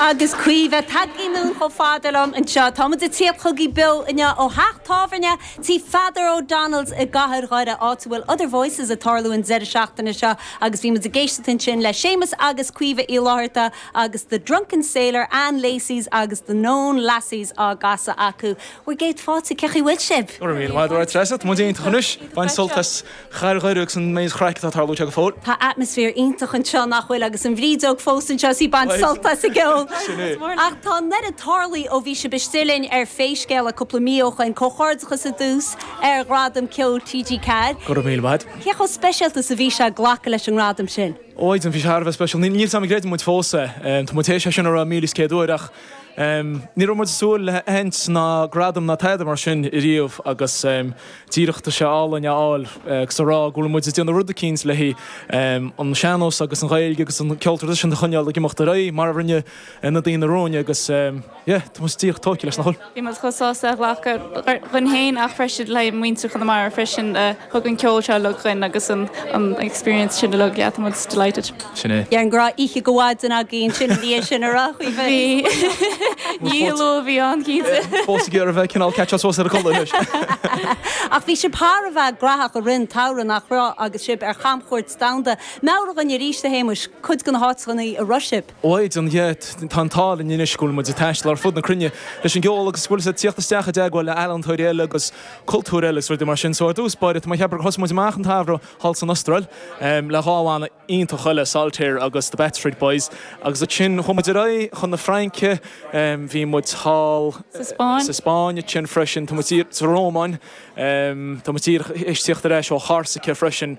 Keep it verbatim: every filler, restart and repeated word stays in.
Agus Caoimhe tagtha anonn chomh fada liom anseo Táimid ag tíocht chugaibh beo inniu ó theach tábhairne tí Pheadar O'Donnell's i gcathair Dhoire áit a bhfuil Other Voices ag tarlú an deireadh seachtaine seo agus bhí muid ag éisteacht ansin le Séamus agus Caoimhe Uí Fhlatharta agus The Drunken Sailor Ann Lacey's agus The Known Lassies á gcasadh acu. Bhur gcéad fáilte cén chaoi a bhfuil sibh. Mí Treasa Mu chois bain sultas chair agus an méid craic atá ag tarlú go fóill. Tá atmaisféar iontach anseo nach bhfuil agus an bhrídeog fós anseo sí ag baint sult as an gceol. Ach tá an oiread tarlaithe ó bhí sibh istigh linn ar Pé Scéal é cúpla mí ó shin comhghairdeachas ar dtús ar Ghradam Ceoil TG Ceathair. Go raibh míle maith. Cé chomh speisialta is a bhí sé glacadh leis an ngradam sin. Óid an bhí sé special níl sam gréid muid fós tá mu sé sin ar mí céadúir ach ní raibh muid ag súil le haint ná gradam ná tada mar sin riamh agus díreach tá sé álainn a fháil agus a rá go bhfuil muid ag déanamh rud eicínt le an sean-nós agus an Ghaeilge agus an ceol traidisiúnta a choinneáil ag imeacht ar aghaidh mar a rinne na daoine romhainn agus tá muid díreach tógtha leis nach bhfuil. Bhí muid chomh sásta a ghlacadh dúinn féin ach freisin le muintir Chonamara freisin thug an ceol seo le chuin agus an experience sin le yeah, muid delighted. Sin é. An raibh oíche go mhaidin agaibh sin ní sin a rá Bhí ní lo bhí an cinnte. Fós ar a bheith cineál catch suas ar a codladh. Ach bhí sibh thar a bheith gnóthach i rith an tsamhraidh nach raibh agus sibh ar chamchuairt domhanda. Meabhraigh dúinn arís a Shéamuis cuid de na háiteanna a raibh sibh. Óid an tá an t-ádh linn anois go bhfuil muid ag taisteal ar fud na cruinne leis an gceol agus bhfuil tíocht isteach i dteagmháil le healaíontóirí eile agus cultúr eile rudaí mar sin so ar dtús báire má cheapaim thosaigh muid amach an t-samhradh thall san Astráil le dhá bhanna iontach eile Saltair agus the Bat Street Boys agus ansin chuaigh muid ar aghaidh chun na Fraince bhí muid thall sa Spáinn sin freisin tá sa Rómáin Tá tíocht ar ais ó Chorsaca freisin